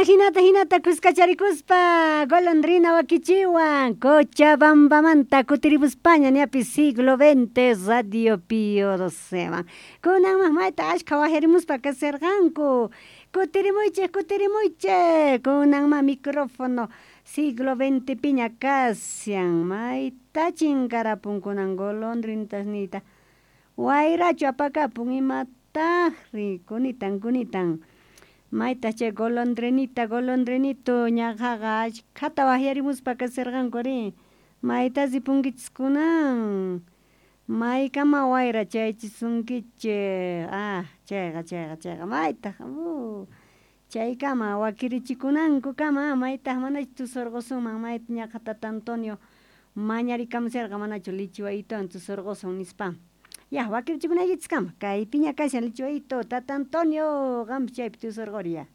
Ajinata jinata kuskacharikuspa golondrina wakichiwan Cochabambamanta kutirimuspaña ñapis siglo XX Radio Pío XII kunanman mayta ashkha wajyarimuspa kaserqanku kutirimuychej kutirimuychej kunanman micrófono siglo XX piña kashan mayta chinkarapun kunan golondrinitas niyta wayrachu apakapun imatajri kunitan kunitan maytaj chay golondrinita golondrinito ñaqaqa ashkhata wajyarimuspa kaserqanku ari mayta ripunkichis kunan maykama wayra chayachisunkichej ah chayqa chayqa chayqa maytaj chaykama wakirichikunankukama maytaj manachu tusurqusunman mayta ñaqa tata Antonio mañarikamusharqa manachu lichiwayituwan tusurqusun nispa ya wakirichikunaykichiskama kaypiña kashan lichiwayito tata Antonio qanpis chaypi tusurquriya.